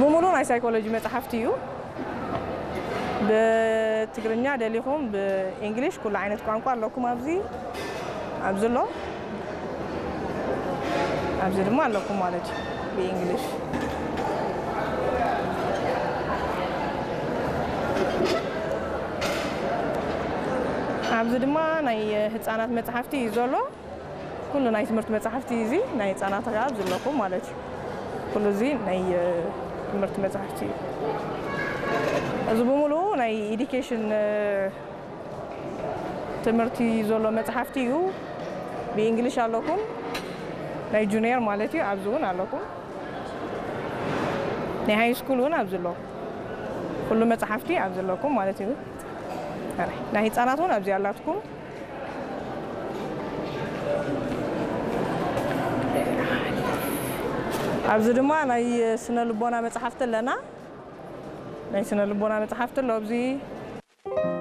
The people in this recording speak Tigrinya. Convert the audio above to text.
ብምሉእ ናይ ሳይኮሎጂ መጽሓፍቲ እዩ። ብትግርኛ ደሊኹም ብእንግሊሽ ኩሉ ዓይነት ቋንቋ ኣለኩም ኣብዚ ኣብዚ ኣሎ። ኣብዚ ድማ ኣለኩም ማለት እዩ ብእንግሊሽ። ኣብዚ ድማ ናይ ህፃናት መፅሓፍቲ እዩ ዘሎ። ኩሉ ናይ ትምህርቲ መፅሓፍቲ እዚ ናይ ህፃናት ከዓ ኣብዚ ኣለኩም ማለት እዩ። ኩሉ እዚ ናይ ትምህርቲ መፅሓፍቲ እዩ። እዚ ብምሉኡ ናይ ኢዲኬሽን ትምህርቲ ዘሎ መፅሓፍቲ እዩ። ብእንግሊሽ ኣለኩም ናይ ጁኒየር ማለት እዩ ኣብዚ እውን ኣለኩም። ናይ ሃይ ስኩል እውን ኣብዚ ኣሎ። ኩሉ መፅሓፍቲ ኣብዚ ኣለኩም ማለት እዩ። ናይ ህፃናት እውን ኣብዚ ኣላትኩም። ኣብዚ ድማ ናይ ስነ ልቦና መፅሓፍቲ ኣለና። ናይ ስነ ልቦና መፅሓፍቲ ኣሎ ኣብዚ።